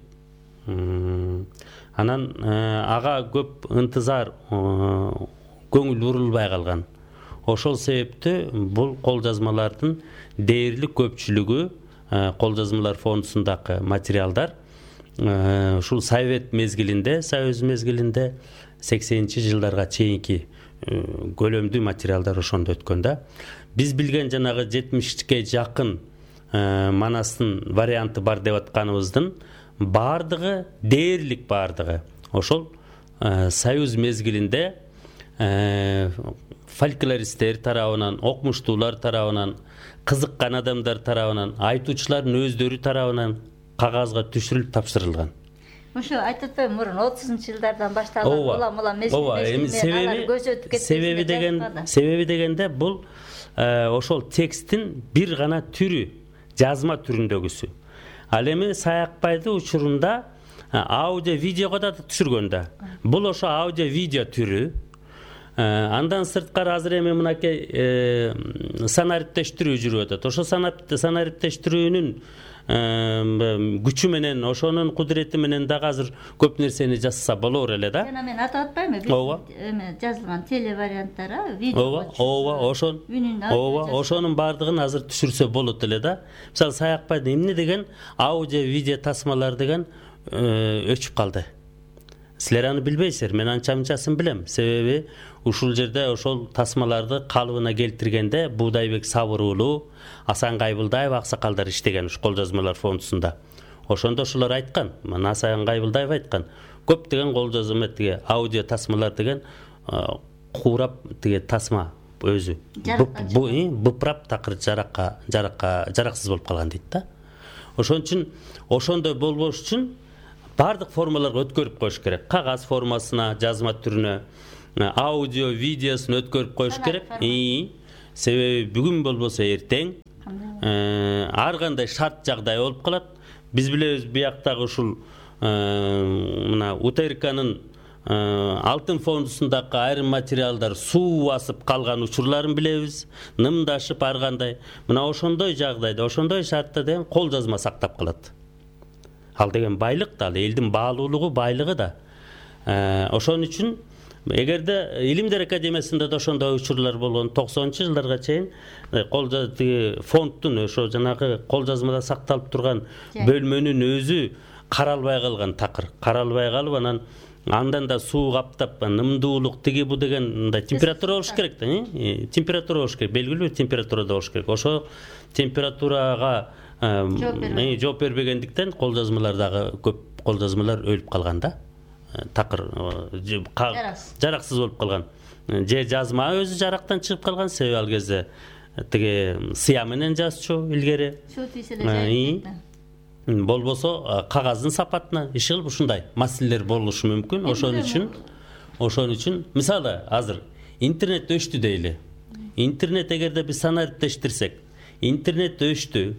анан ага көп ынтызар, көңүл бурулбай калган. Ошол себептүү бул кол жазмалардын дээрлик көпчүлүгү, кол жазмалар фондусундагы материалдар ушул Совет мезгилинде, Союз мезгилинде 80-жылдарга чейинки көлөмдүү материалдар ошондо өткөн да. Биз билген жанагы 70-ке жакын Манастын варианты бар деп атканыбыздын баардыгы, дээрлик баардыгы ошол Союз мезгилинде фольклористтер тарабынан, окумуштуулар тарабынан, кызыккан адамдар тарабынан, айтуучулардын өздөрү тарабынан кагазга түшүрүлүп тапшырылган. Ошо айтып атпаймынбы, мурун 30-жылдардан башталган улам мезгилде себеби дегенде бул ошол тексттин бир гана түрү, жазма түрүндөгүсү. Ал эми Саякбайды учурунда аудио видеого да түшүргөн да. Бул ошо аудио видео түрү. Андан сырткары азыр эми мынакей санариптештирүү жүрүп атат. Ошо санариптештирүүнүн күчү менен, ошонун кудурети менен дагы азыр көп нерсени жазса болор эле да. Жана мен атап атпаймынбы? Ооба. Жазылган теле варианттары, видео. Ооба, ошонун баардыгын азыр түшүрсө болот эле да. Мисалы Саякбайдын эмне деген аудио видео тасмалар деген өчүп калды. Силер аны билбейсиздер, мен анча-мынчасын билем. Себеби ушул жерде ошол тасмаларды калыбына келтиргенде Буудайбек Сабыр уулу, Асан Кайбылдаев аксакалдар иштеген ушу кол жазмалар фондусунда. Ошондо ошолор айткан, мына Асан Кайбылдаев айткан, көптөгөн кол жазма тиги аудио тасмалар деген куурап тиги тасма өзү быпырап такыр жараксыз болуп калган дейт да. Ошон үчүн ошондой болбош үчүн баардык формаларга өткөрүп коюш керек. Кагаз формасына, жазма түрүнө, аудио, видеосун өткөрүп коюш керек. Себеби бүгүн болбосо эртең ар кандай шарт жагдай болуп калат. Биз билебиз бияктагы ушул мына УТРКнын алтын фондусундагы айрым материалдар суу басып калган учурларын билебиз, нымдашып ар кандай. Мына ошондой жагдайда, ошондой шартта деген кол жазма сактап калат. Ал деген байлык да, ал элдин баалуулугу, байлыгы да. Ошон үчүн эгерде Илимдер академиясында да ошондой учурлар болгон 90-жылдарга чейин фондтун ошо жанагы кол жазмада сакталып турган бөлмөнүн өзү каралбай калган такыр. Каралбай калып анан андан да суу каптап, нымдуулук тиги бу деген мындай температура болуш керек да, температура болуш керек, белгилүү бир температурада болуш керек. Ошо температурага жооп бербегендиктен кол жазмалардагы көп кол жазмалар өлүп калган да. Такыр жараксыз болуп калган. Же жазма өзү жарактан чыгып калган, себеби ал кезде тиги сыя менен жазчу илгери. Болбосо кагаздын сапатына иши кылып ушундай маселелер болушу мүмкүн. Ошон үчүн мисалы азыр интернет өчтү дейли. Интернет эгерде биз санариптештирсек, интернет өчтү,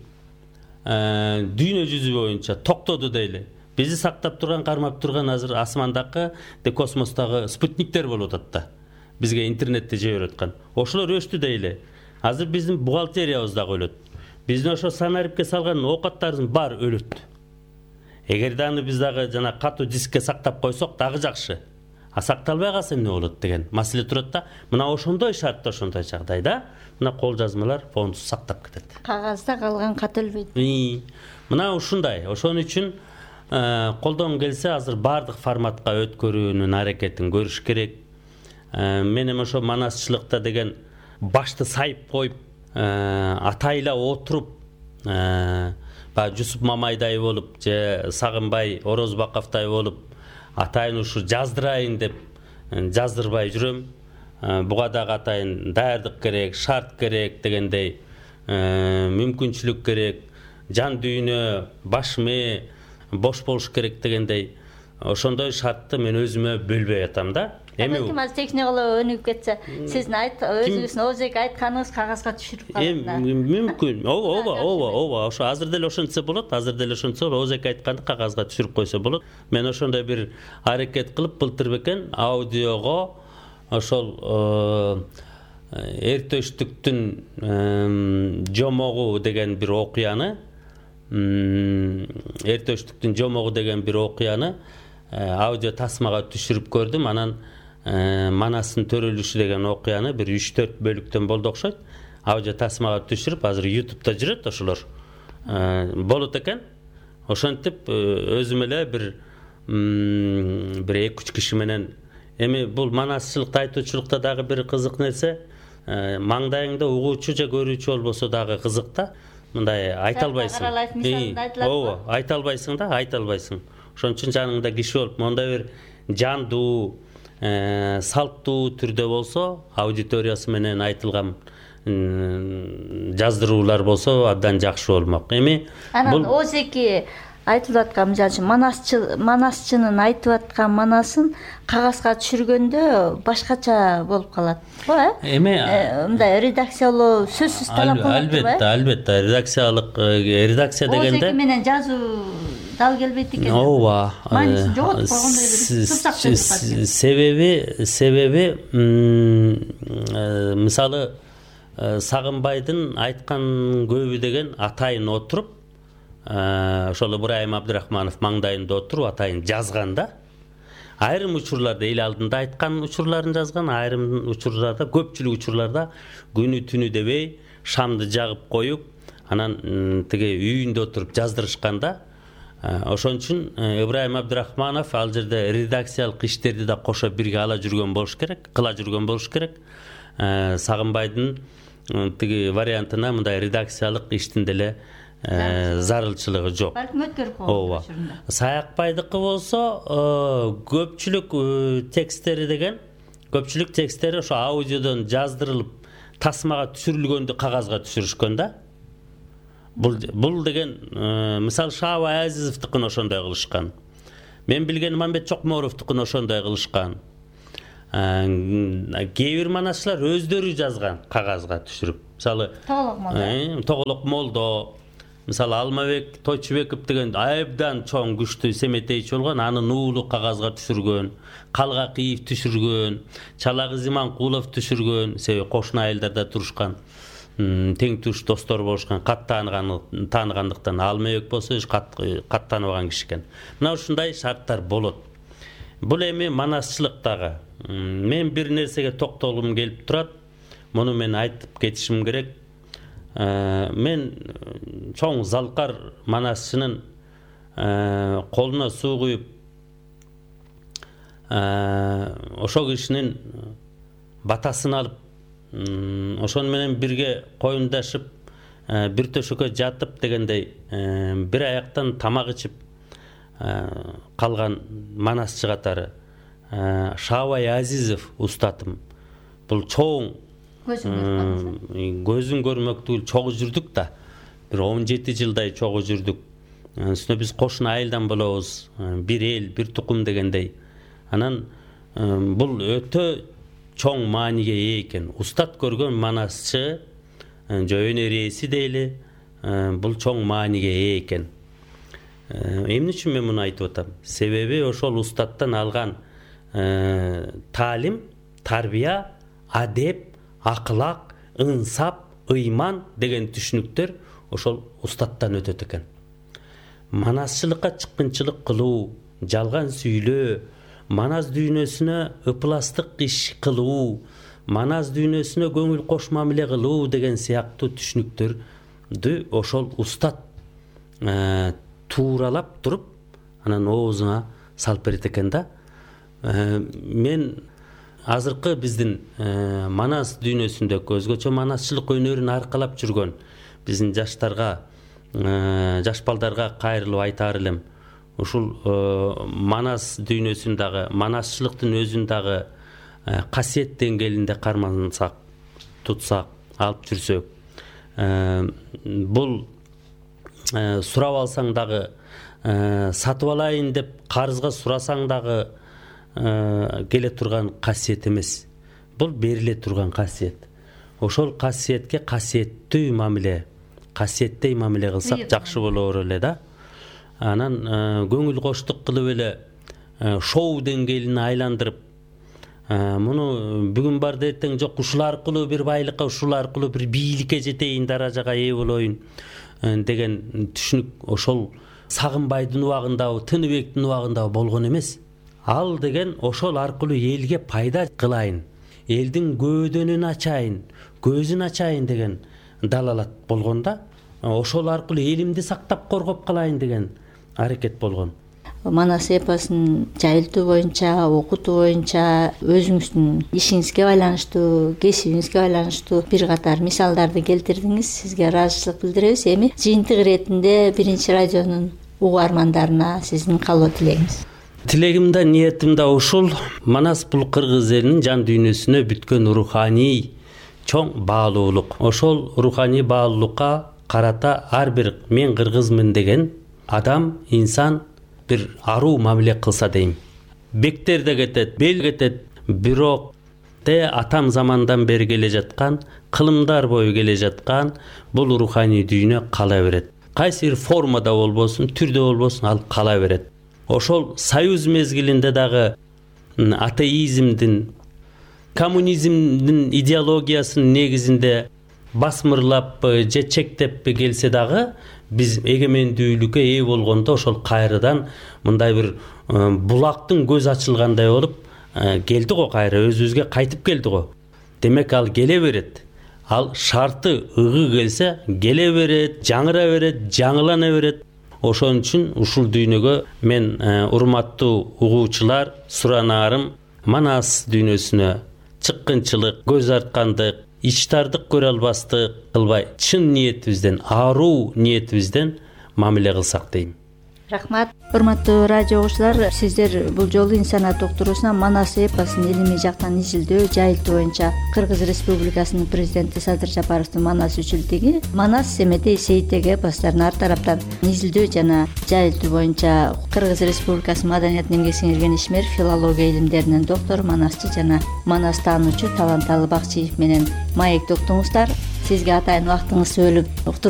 дүйнө жүзү боюнча токтоду дейли. Бизди сактап турган, кармап турган азыр асмандагы, космостогу спутниктер болуп атат да. Бизге интернетти жиберип аткан. Ошолор өчтү дейли. Азыр биздин бухгалтериябыз дагы өлөт. Биздин ошо санарипке салган оокаттарыбыз баары өлөт. Эгерде аны биз дагы жана катуу дискке сактап койсок дагы жакшы. А сакталбай калса эмне болот деген маселе турат да. Мына ошондой шартта, ошондой жагдайда мына кол жазмалар фондусу сактап кетет. Кагазда калган кат өлбөйт. Мына ушундай. Ошон үчүн колдон келсе азыр баардык форматка өткөрүүнүн аракетин көрүш керек. Мен эми ошо манасчылыкта деген башты сайып коюп, атайла отуруп, Жусуп Мамайдай болуп, же Сагынбай Орозбаковдай болуп, атайын ушу жаздырайын деп жаздырбай жүрөм. Буга дагы атайын даярдык керек, шарт керек дегендей, мүмкүнчүлүк керек, жан дүйнө, баш мээ бош болуш керек дегендей, ошондой шартты мен өзүмө бөлбөй атам да. Эми техникалар өнүгүп кетсе, сиздин өзүңүздүн озек айтканыңыз кагазга түшүрүп калат. Мүмкүн. Ооба. Ошо азыр деле ошентсе болот, озек айтканды кагазга түшүрүп койсо болот. Мен ошондой бир аракет кылып былтыр бекен аудиого ошол Эртөштүктүн жомогу деген бир окуяны, аудио тасмага түшүрүп көрдүм. Анан Манастын төрөлүшү деген окуяны бир 3-4 бөлүктөн болду окшойт. Аудио тасмага түшүрүп, азыр YouTube'да жүрөт ошолор. Болот экен. Ошентип өзүм эле бир 2-3 киши менен, эми бул манасчылыкта, айтуучулукта дагы бир кызык нерсе, маңдайыңда угуучу же көрүүчү болбосо дагы кызык да. Мындай айта албайсың. Айта албайсың да, айта албайсың. Ошон үчүн жаныңда киши болуп, мондай бир жандуу, салттуу түрдө болсо, аудиториясы менен айтылган жаздыруулар болсо абдан жакшы болмок. Эми анан озеки айтылып аткан, мисалы үчүн манасчынын айтып аткан манасын кагазга түшүргөндө башкача болуп калат. Эми мындай редакциялоо сөзсүз талап кылынат. Албетте, редакция дегенде озеки менен жазуу дал келбейт экен. Ооба. Маанисин жоготуп койгондой бир турсак себеби мисалы Сагынбайдын айткан көбү деген атайын отуруп, ошол Ыбырайым Абдырахманов маңдайында отуруп атайын жазган да. Айрым учурларда эл алдында айткан учурларын жазган, айрым учурларда, көпчүлүк учурларда күнү түнү дебей шамды жагып коюп, анан тиги үйүндө отуруп жаздырышканда, Ошон үчүн Ибрайым Абдырахманов ал жерде редакциялык иштерди да кошо бирге кыла жүргөн болуш керек. Сагынбайдын тиги вариантына мындай редакциялык иштин деле зарылчылыгы жок. Балким өткөрүп койгон учурунда. Саякбайдыкы болсо көпчүлүк тексттери ошо аудиодон жаздырылып тасмага түшүрүлгөндү кагазга түшүрүшкөн да. Бул деген мисалы Шаабай Азизовдукун ошондой кылышкан. Мен билген Мамбет Чокморовдукун ошондой кылышкан. Кээ бир манасчылар өздөрү жазган кагазга түшүрүп. Мисалы Тоголок Молдо, мисалы Алмабек Тойчубеков деген айыбдан чоң күчтүү семетейчи болгон, аны нуулуу кагазга түшүргөн, Калгакиев түшүргөн, Чалагыз Иманкулов түшүргөн, себеби кошуна айылдарда турушкан, тең туш достор болушкан, кат тааныгандыктан. Алмабек болсо кат тааныбаган киши экен. Мына ушундай шарттар болот. Бул эми манасчылыктагы. Мен бир нерсеге токтолгум келип турат. Муну мен айтып кетишим керек. Мен чоң залкар манасчынын колуна суу куюп ошол кишинин батасын алып, ошону менен бирге коюндашып, бир төшөккө жатып дегендей бир аяктан тамак ичип калган манасчы катары Шаабай Азизов устатым. Бул чоң көзүн көрмөктүү чогуу жүрдүк да. Бир 17 жылдай чогуу жүрдүк. Үстүнө биз кошуна айылдан болобуз, бир эл, бир тукум дегендей. Анан бул өтө чоң мааниге ээ экен. Устат көргөн манасчы, өнөр ээси дейли, бул чоң мааниге ээ экен. Эмне үчүн мен муну айтып атам? Себеби ошол устаттан алган таалим, тарбия, адеп, акылак, ынсап, ыйман деген түшүнүктөр ошол устаттан өтөт экен. Манасчылыкка чыккынчылык кылуу, жалган сүйлөө, манас дүйнөсүнө ыпластык иш кылуу, манас дүйнөсүнө көңүл кош мамиле кылуу деген сыяктуу түшүнүктөрдү ошол устат тууралап туруп анан оозуна салып берет экен да. Мен азыркы биздин манас дүйнөсүндөгү өзгөчө манасчылык өнөрүн аркалап жүргөн биздин жаштарга, жаш балдарга кайрылып айтаар элем. Ушул манас дүйнөсүн дагы, манасчылыктын өзүн дагы касиет деңгээлинде кармансак, тутсак, алып жүрсөк, бул сурап алсаң дагы, сатып алайын деп карызга сурасаң дагы келе турган касиет эмес. Бул бериле турган касиет. Ошол касиетке касиеттүү мамиле, касиеттей мамиле кылсак жакшы болор эле да. Анан көңүл коштук кылып эле шоу деңгээлине айландырып, муну бүгүн бар да эртең жок, ушул аркылуу бир байлыкка, ушул аркылуу бир бийликке жетейин, даражага ээ болоюн деген түшүнүк ошол Сагынбайдын убагындабы, Тыныбектин убагындабы болгон эмес. Ал деген ошол аркылуу элге пайда кылайын, элдин көөдөнүн ачайын, көзүн ачайын деген далалат болгон да. Ошол аркылуу элимди сактап коргоп калайын деген аракет болгон. Манас эпосун жайылтуу боюнча, окутуу боюнча өзүңүздүн ишиңизге байланыштуу, кесибиңизге байланыштуу бир катар мисалдарды келтирдиңиз. Сизге ыраазычылык билдиребиз. Эми жыйынтык иретинде Биринчи радионун угармандарына сиздин каалоо тилегиңиз. Тилегим да, ниетим да ушул. Манас бул кыргыз элинин жан дүйнөсүнө бүткөн руханий чоң баалуулук. Ошол руханий баалуулукка карата ар бир мен кыргызмын деген адам, инсан бир аруу мамиле кылса дейм. Бектер да кетет, бел кетет, бирок атам замандан бери келе жаткан, кылымдар бою келе жаткан бул руханий дүйнө кала берет. Кайсы бир формада болбосун, түрдө болбосун, ал кала берет. Ошол союз мезгилинде дагы атеизмдин, коммунизмдин идеологиясынын негизинде басмырлап же чектеп келсе дагы, биз эгемендүүлүккө ээ болгондо ошол кайрадан мындай бир булактын көз ачылгандай болуп келди го, кайра өзүбүзгө кайтып келди го. Демек ал келе берет. Ал шарты ыгы келсе келе берет, жаңыра берет, жаңылана берет. ошон үчүн ушул дүйнөгө мен урматтуу угуучулар суранаарым, Манас дүйнөсүнө чыккынчылык, көз арткандык, ичтардык көрө албастык кылбай, чын ниетибизден, аруу ниетибизден мамиле кылсак дейм. Рахмат. Урматтуу радио угуучулар, сиздер бул жолу инсаният уктуруусуна Манас эпосун илимий жактан изилдөө, жайылтуу боюнча Кыргыз Республикасынын президенти Садыр Жапаровдун Манас үчүлдүгү, Манас Семетей Сейиттеги эпостарын ар тараптан изилдөө жана жайылтуу боюнча Кыргыз Республикасынын Маданият эмгек сиңирген ишмер, филология илимдеринин доктору, манасчы жана Манас таануучу Таланталы Бакчиев менен маектеп уктуңуздар. Сизге атайын убактыңызды бөлүп уктуруу